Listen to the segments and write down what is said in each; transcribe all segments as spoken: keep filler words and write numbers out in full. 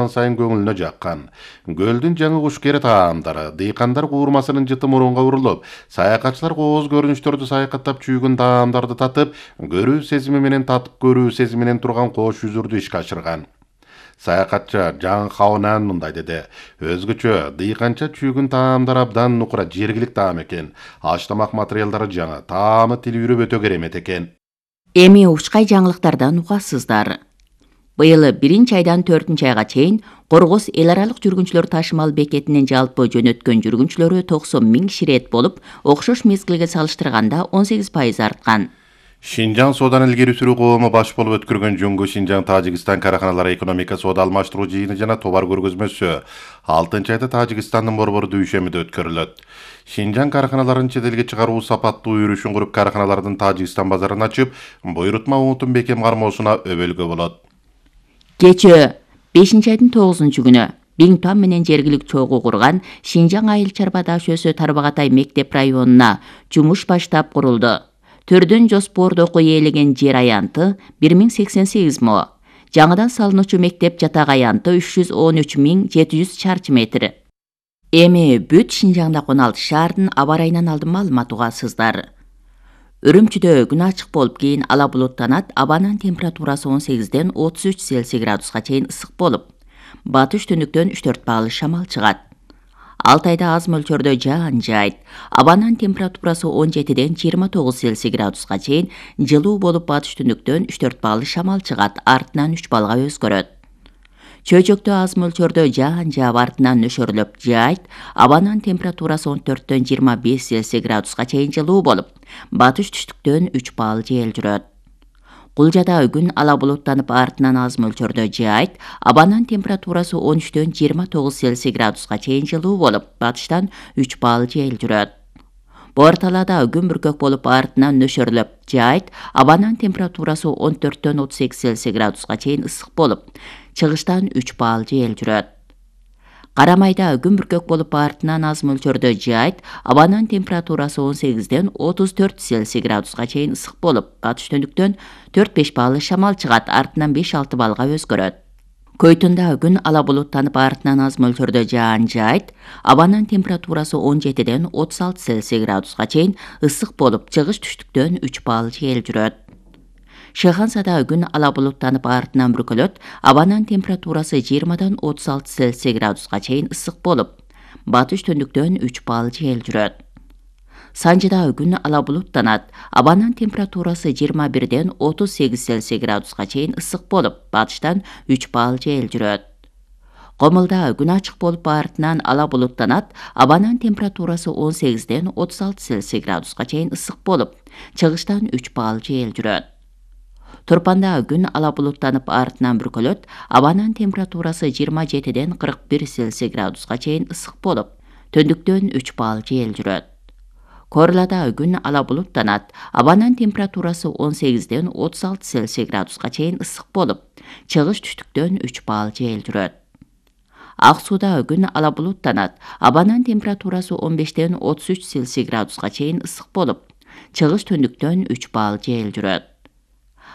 сайын көңүлүнө жаккан. Көлдүн жаңы кушкери таамдары, дыйкандар куурмасынын жыты мурунга урулуп, саякатчылар кооз көрүнүштөрдү саякаттап чүйгүн таамдарды татып, көрүү сезими менен татып көрүү сезими менен турган кош жүзүрдү ишке ашырган. Саякатчы Жан Хаонан мындай деди: өзгөчө дыйканча чүйгүн таамдар абдан нукура жергилик таам экен. Аш-тамак материалдары жаңы, таамы тили үрүп өтө керемет экен. Эми учкай жаңылыктардан угасыздар. Быйыл биринчи айдан төртүнчү айга чейин Коргоз эл аралык жүргүнчүлөр ташымал бекетинин жалпы жөнөткөн жүргүнчүлөрү токсон миң киши рет болуп, окшош мезгилге салыштырганда он сегиз пайыз арткан. Шинжаң соодан илгери сүрүү коому баш болуп өткөргөн жөнгө Шинжаң Тажикстан караханалары экономика соода алмаштыруу жыйыны жана товар көргөзмөсү алтынчы айда Тажикстандын борбору Дүйшөмүдө өткөрүлөт. Шинжаң караханаларын чет элге чыгаруу сапаттуу өрүшүн куруп, караханалардын Тажикстан базарын ачып, буйрутма унутун бекем кармоосуна өбөлгө болот. Кечээ бешинчи айдын тогузунчу күнү Биңтуан менен жергилик чогуу курган Шинжаң айыл чарба дашөөсү Тарбагатай мектеп районуна жумуш баштап курулду. Төрдөн жоспордоку ээлеген жер аянты бир миң сексен сегиз мо. Жаңыдан салынуучу мектеп жатак аянты үч жүз он үч миң жети жүз чарчы метр. Эми бүт Шинжаңда он алты шаардын аба ырайынан алдын маалымат угасыздар. Үрүмчүдө күн ачык болуп, кийин ала булуттанат, абанын температурасы он сегизден отуз үч Цельсий градуска чейин ысык болуп, батыш түндүктөн үч төрт баалы шамал чыгат. Алтайда аз мөлчөрдө жаан жаайт. Абанын температурасы он жетиден жыйырма тогуз Цельсий градуска чейин жылуу болуп, батыш түндүктөн үч төрт баалы шамал чыгат, артынан үч балга өзгөрөт. Чөйчөктө аз мөлчөрдө жаан жаап, артынан нөшөрлөп жаайт. Абанын температурасы он төрттөн жыйырма беш Цельсий градуска чейин жылуу болуп, батыш түштүктөн үч баал жел жүрөт. Кулжада күн ала булуттанып, артынан аз мөлчөрдө жаайт. Абанын температурасы он үчтөн жыйырма тогуз Цельсий градуска чейин жылуу болуп, батыштан үч баал жел жүрөт. Боор талаада күн бүркөк болуп, артынан нөшөрлөп жаайт. Абанын температурасы он төрттөн отуз сегиз Цельсий градуска чейин ысык болуп, чыгыштан үч баал жел жүрөт. Карамайда күн бүркөк болуп, артынан аз мөлчөрдө жаайт. Абанын температурасы он сегизден отуз төрт Цельсий градуска чейин ысык болуп, батыш түндүктөн төрт беш баалы шамал чыгат, артынан беш алты балга өзгөрөт. Көйтүндө күн ала булуттанып, артынан аз мөлчөрдө жаан жаайт. Абанын температурасы он жетиден отуз алты Цельсий градуска чейин ысык болуп, чыгыш түштүктөн үч баал жел жүрөт. Шыхансада күн ала булуттанып, артынан бүркөлөт. Абанын температурасы жыйырмадан отуз алты Цельсий градуска чейин ысык болуп, батыш түндүктөн үч баал жел жүрөт. Санжыда күн ала булуттанат. Абанын температурасы жыйырма бирден отуз сегиз Цельсий градуска чейин ысык болуп, батыштан үч баал жел жүрөт. Комулда күн ачык болуп, артынан ала булуттанат. Абанын температурасы он сегизден отуз алты Цельсий градуска чейин ысык болуп, чыгыштан үч баал жел жүрөт. Турпанда күн ала булуттанып, артынан бүркөлөт. Абанын температурасы жыйырма жетиден кырк бир Цельсий градуска чейин ысык болуп, түндүктөн үч баал жел жүрөт. Корлада күн ала булуттанат. Абанын температурасы он сегизден отуз алты Цельсий градуска чейин ысык болуп, чыгыш түштүктөн үч баал жел жүрөт. Ак сууда күн ала булуттанат. Абанын температурасы он бештен отуз үч Цельсий градуска чейин ысык болуп, чыгыш түндүктөн үч баал жел жүрөт.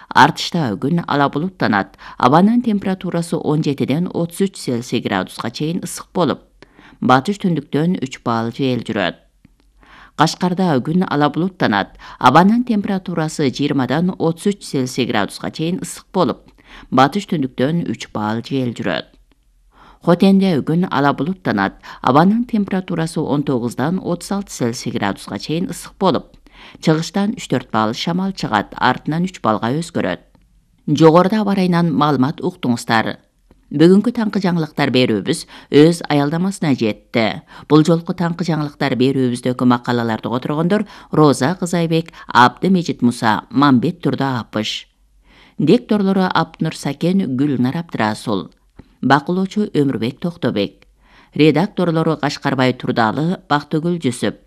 Артышта күн ала булуттанат. Абанын температурасы он жетиден отуз үч Цельсий градуска чейин ысык болуп, батыш түндүктөн үч баал жел жүрөт. Кашкарда күн ала булуттанат. Абанын температурасы жыйырмадан отуз үч Цельсий градуска чейин ысык болуп, батыш түндүктөн үч баал жел жүрөт. Хотенде күн ала булуттанат. Абанын температурасы он тогуздан отуз алты Цельсий градуска чейин ысык болуп, чыгыштан үч төрт баал шамал чыгат, артынан үч балга өзгөрөт. Жогоруда аба ырайынан маалымат уктуңуздар. Бүгүнкү таңкы жаңылыктар берүүбүз өз аялдамасына жетти. Бул жолку таңкы жаңылыктар берүүбүздөгү макалаларды которгондор Роза Кызайбек, Абдымежит Муса, Мамбет Турда Апыш. Дикторлору Аптнур Сакен, Гүлнар Абдрасул. Бакылоочу Өмүрбек Токтобек. Редакторлору Кашкарбай Турдалы, Бактыгүл Жүсүп.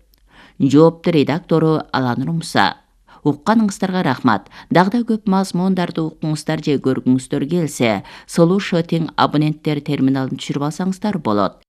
Жоопту редактору Аланур Муса. Укканыңыздарга рахмат. Дагы көп мазмундарды укуңуздар же көргүңүздөр келсе, Solution абоненттер терминалын түшүрүп алсаңыздар болот.